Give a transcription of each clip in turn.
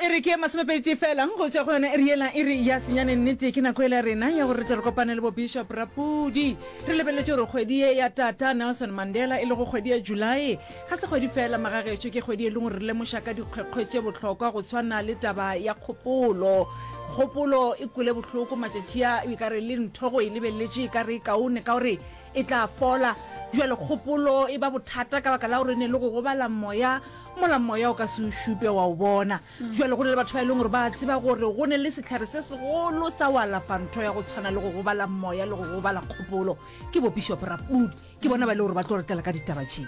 e re ke masomepeditee fela go tšwa go yona iri yela iri ya senyane. Nnete ke nako ela rena ya gore re tle re kopane le bo Bishop Rapudi. Re lebeletše gore kgwedi ye ya Tata Nelson Mandela e lego kgwedi ya July ga se kgwedi fela magagešo, ke kgwedi e leng gore re lemoša ka dikgwekgwe tše bohlokwa go tshwana le taba ya kgopolo. Kgopolo e kwele bohloko matšatši a, e ka re le ntho go e lebeletše e ka re e kaone ka gore e tla fola. Bjale kgopolo e ba bothata ka baka la gore e ne le go gobala moya mola moya o ka se o šupe wa o bona. Bjale go ne le batho ba e leng gore ba tseba gore go ne le sehlare se segolo sa go alafa ntho ya go tshwana le go gobala moya le go gobala kgopolo, ke bo Bishop Rapudi. Ke bona ba e le gore ba tlo re tlela ka ditaba tše.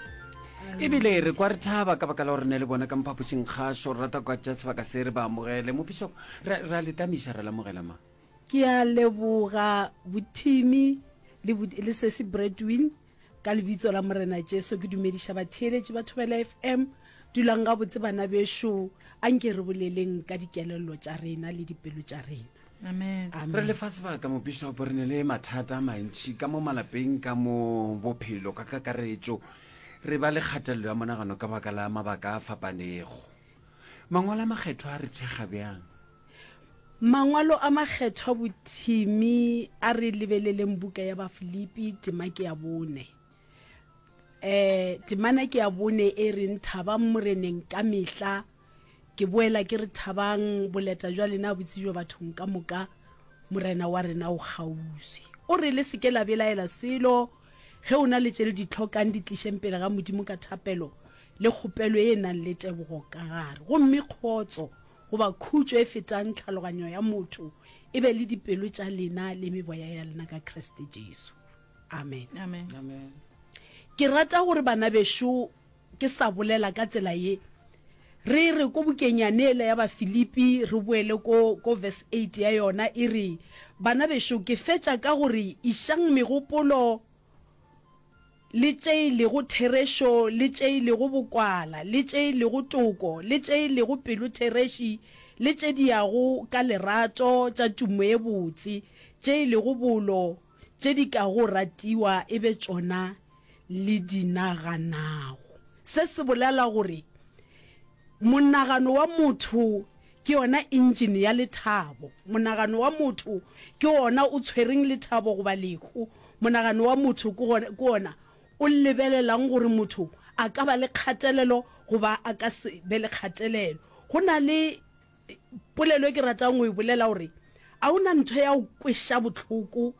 Ebile re kwa re thaba ka baka la gore ne le bona ka mo phapošing kgašo, re rata go ka tšea sebaka se re ba amogele. Mo Bishop, re, re a le tamiša, re lamogela ma. Ke a leboga bothimi le, le sesi Bradwin. Ka lebitso la Morena Jesu ke dumediša batheeletši ba Thobela FM. Dulang gabotse bana bešo, anke re boleleng ka dikelello tša rena le dipelo tša rena. Amen. Amen. Re le fa sebaka mopišopo, re ne le mathata a mantši ka mo malapeng, ka mo bophelo ka kakaretšo. Re ba le kgatelelo ya monagano ka baka la mabaka a fapanego. Mangwalo a Makgethwa a re thekga bjang? Mangwalo a Makgethwa bothimi a re lebeleleng buka ya Bafilipi tema ke ya bone. E, temana ke ya bone e reng thabang Moreneng ka mehla. Ke boela ke re thabang, boleta jwa lena bo tsebjwe bathong ka moka, Morena wa rena o kgauswi. O re le se ke la belaela selo, ge o na le tše le di hlokang di tlišeng pele ga Modimo ka thapelo le kgopelo e nang le tebogo ka gare, gomme kgotso goba khutšo e fetang tlhaloganyo ya motho e be le dipelo tša lena le meboya ya lena ka Kriste Jesu. Amen. Amen. Amen. Ke rata gore bana bešo ke sa bolela ka tsela ye. Re re ko bukeng yane yela ya Bafilipi re boele ko ko verse 8 ya yona e re bana bešo ke fetša ka gore išang megopolo le tše e lego therešo, le tše e lego bokwala, le tše e lego toko, le tše e lego pelothereši, le tše di yago ka lerato, tša tumo e botse, tše e lego bolo, tše di kago ratiwa e be tšona le di naganago. Se se bolela gore Monagano wa motho ke yona engine ya lethabo. Monagano wa motho ke wona o tshwereng lethabo goba lehu. Monagano wa motho ke wona o lebelelang gore motho a ka ba le kgatelelo goba a ka se be le kgatelelo. Go na le polelo e ke ratang go e bolela gore a o na ntho ya go kweša bohloko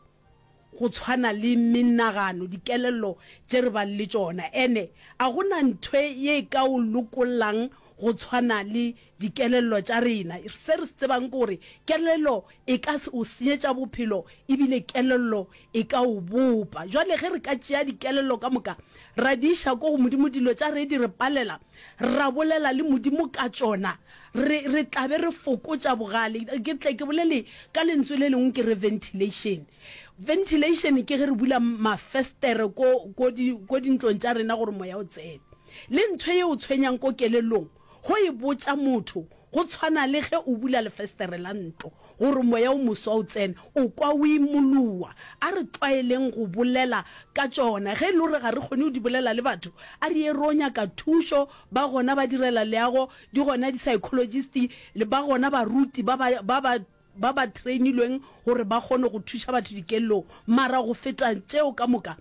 go tshwana le menagano, dikelello tše re bang le tšona. Ene a go na ntho ye e ka o lokollang go tshwana le dikelello tša rena. Se re se tsebang ke gore kelello e ka o senyetša bophelo ebile kelello e ka o bopa. Jwale ge re ka tšea dikelello ka moka ra di iša ko go Modimo, dilo tša re di re palela, ra bolela le Modimo ka tšona, re, re tla be re fokotša bogale. Ke tle ke bolele ka lentswe le lengwe ke re ventilation. Ventilation ke ge re bula mafestere ko, ko di, ko dintlong tša rena gore moya o tsene. Le ntho ye o tshwenyang ko kelellong, go e botša motho, go tshwana le ge o bula lefestere la ntlo gore moya o moswa o tsene, o kwa o imoloa. A re tlwaeleng go bolela ka tšona. Ge e le gore ga re kgone go di bolela le batho, a re ye ro nyaka thušo, ba gona ba direla leago, di gona di-psychologist, ba gona baruti ba ba, ba ba ba ba trainilweng gore ba kgone go thuša batho dikellong. Mara go feta tšeo ka moka,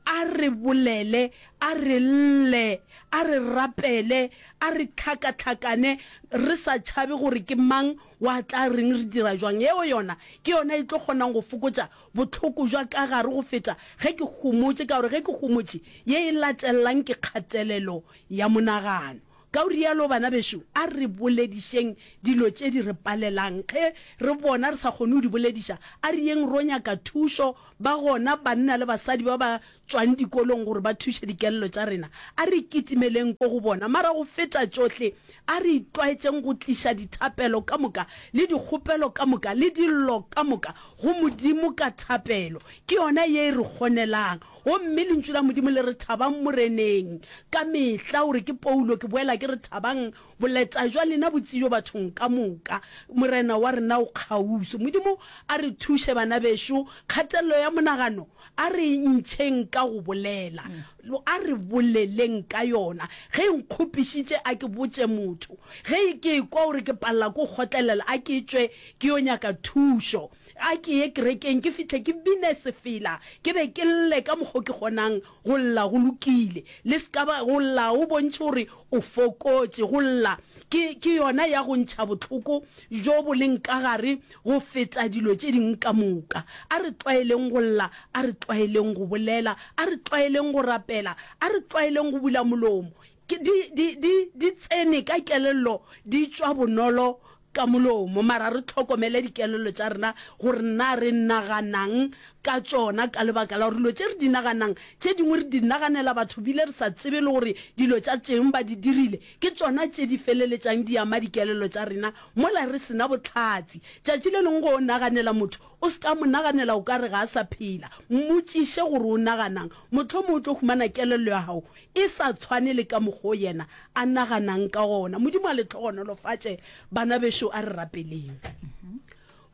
a re bolele, a re lle, a re rapele, a re hlakahlakane re sa tšhabe gore ke mang wa tla reng re dira jwang. Yeo yona ke yona e tlo kgonang go fokotša bohloko bja ka gare go feta ge ke homotše, ka gore ge ke homotše, ye e latelelang ke kgatelelo ya monagano. Ka go rialo, bana bešo, a re boledišeng dilo tše di re palelang. Ge re bona re sa kgone go di bolediša, a re yeng ro nyaka thušo. Ba gona banna le basadi ba ba tšwang dikolong gore ba thuše dikelelo tša rena. A re kitimeleng ko go bona. Mara go feta tšohle, a re itlwaetšeng go tliša dithapelo ka moka le dikgopelo ka moka le dillo ka moka go Modimo ka thapelo. Ke yona ye e re kgonelang. Gomme Lentšu la Modimo le re thabang Moreneng ka mehla. O re ke Paulo, ke boela ke re thabang, boleta jwa lena bo tsebjo bathong ka moka. Morena wa rena o kgauswi. Modimo a re thuše bana bešo, kgatelelo ya monagano a re e ntšheng ka go bolela. A re boleleng ka yona. Ge e nkgopišitše a ke botše motho. Ge ke ekwa gore ke palela ke go kgotlelela a ke tšwe ke yo nyaka thušo. A ke ye kerekeng ke fihle ke bine sefela, ke be ke lle ka mokgo ke kgonang go lla. Go lokile. Le se ka ba, go lla o bontšhe gore o fokotše. Go lla ke, ke yona ya go ntšha bohloko bjo bo leng ka gare go feta dilo tše dingwe ka moka. A re tlwaeleng go lla, a re tlwaeleng go bolela, a re tlwaeleng go rapela, a re tlwaeleng go bula molomo. Ke, di, di, di, di tsene ka kelello, di tšwa bonolo ka molomo, mara re hlokomele dikelello tša rena gore na re naganang ka tšona, ka lebaka la gore dilo tše re di naganang, tše dingwe re di naganela batho bile re sa tsebe le gore dilo tša tšeng ba di dirile, ke tšona tše di feleletšang di ama dikelello tša rena mola re se na bohlatse. Tšatši le lengwe ge o naganela motho, o se ka mo naganela o ka re ga a sa phela, mmotšiše gore o naganang, mohlomongwe o tlo humana kelello ya gago e sa tshwane le ka mokgo yena a naganang ka gona. Modimo a le hlogonolofatše, bana bešo. A re rapeleng.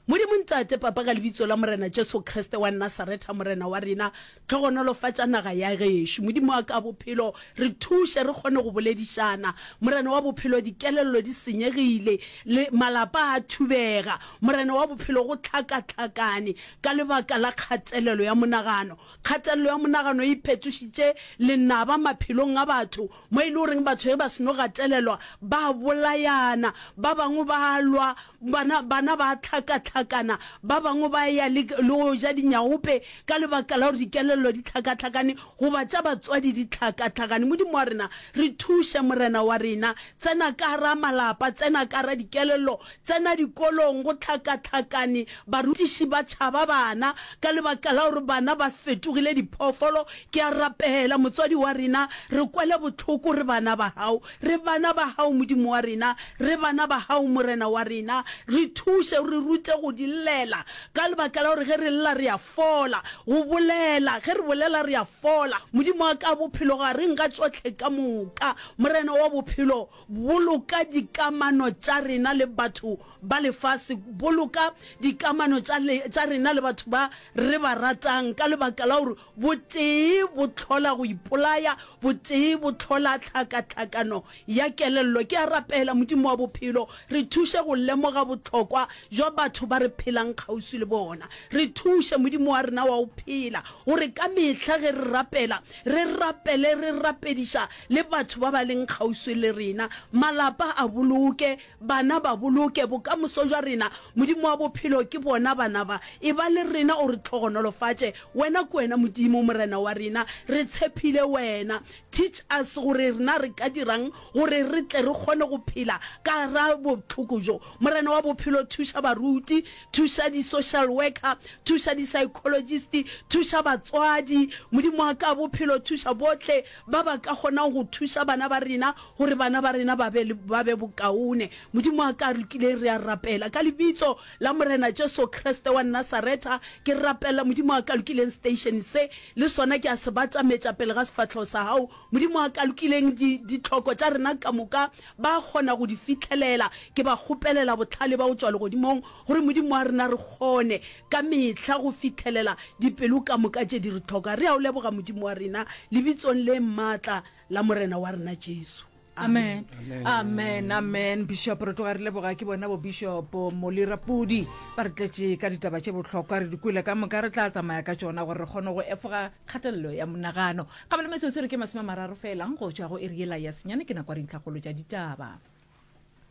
Modimo Ntate, Papa, ka Lebitso la Morena Jesu Kriste wa Nasaretha, Morena wa rena, hlogonolofatša naga ya gešo. Modimo wa ka bophelo, re thuše re kgone go boledišana. Morena wa bophelo, dikelello di senyegile, le malapa a thubega. Morena wa bophelo, go hlakahlakane ka lebaka la kgatelelo ya monagano. Kgatelelo ya monagano e iphetošitše lenaba maphelong a batho, mo e le goreng batho ge ba seno gatelelwa ba bolayana, ba bangwe ba lwa, bana, bana ba hlakahlakana, ba bangwe ba ya le, le go ja dinyaope ka lebaka la gore dikelello di hlakahlakane goba tša batswadi di hlakahlakane. Modimo wa rena, re thuše, Morena wa rena. Tsena ka gara malapa, tsena ka gara dikelello, Tsena dikolong go hlakahlakane, barutiši ba tšhaba bana ka lebaka la gore bana ba fetogile diphoofolo. Ke a rapela, motswadi wa rena, re kwele bohloko, re bana ba Gago. Re bana ba Gago, Modimo wa rena. Re bana ba Gago, Morena wa rena. Re thuše, re rute go di llela, ka lebaka la gore ge re lla re a fola. Go bolela, ge re bolela re a fola. Modimo wa ka, bophelo gareng ga tšohle ka moka, Morena wa bophelo, Boloka dikamano tša rena le batho ba lefase. Boloka dikamano tša, tša rena le batho ba re ba ratang, ka lebaka la gore botee bo hlola go ipolaya, botee bo hlola tlhakatlhakano ya kelello. Ke a rapela, Modimo wa bophelo, re thuše go lemoga bohlokwa bja batho ba re phelang kgauswi le bona. Re thuše, Modimo wa rena wa go phela, gore ka mehla ge re rapela, re rapele re rapediša le batho ba ba leng kgauswi le rena. Malapa a boloke, bana ba boloke, bokamoso bja rena. Modimo wa bophelo, ke bona bana ba. Eba le rena o re hlogonolofatše. Wena ke wena Modimo, Morena wa rena. Re tshephile Wena. Teach us gore rena re ka dirang gore re tle re kgone go phela ka gara bohloko bjo. Morena wa bophelo, thuša baruti, thuša di-social worker, thuša di-psychologist, thuša batswadi. Modimo wa ka bophelo, thuša bohle ba ba ka kgonang go thuša bana ba rena gore bana ba rena ba be, ba be bokaone. Modimo wa ka lokileng, re a rapela ka Lebitso la Morena Jesu Kriste wa Nasaretha. Ke rapela, Modimo wa ka lokileng, station se le sona ke a se batametša pele ga sefahlego sa Gago. Modimo wa ka lokileng, di, ditlhoko tša rena ka moka ba kgona go di fihlelela. Ke ba kgopelela bohlale ba go tšwa Legodimong, gore Modimo wa rena re kgone ka mehla go fihlelela dipelo ka moka tše di re hloka. Re a O leboga, Modimo wa rena, Lebitsong le maatla la Morena wa rena Jesu. Amen. Amen. Amen. Bishop re tloga re leboga ke bona bo Bishop Molly Rapudi ba re tletše ka ditaba tše bohlokwa re di kwele ka moka re tla tsamaya ka tšona gore re kgone go efoga kgatelelo ya monagano. Gabele metsotso re ke 30 fela go tšwa go iri yela ya senyane ke nako ya dintlhakgolo tša ditaba.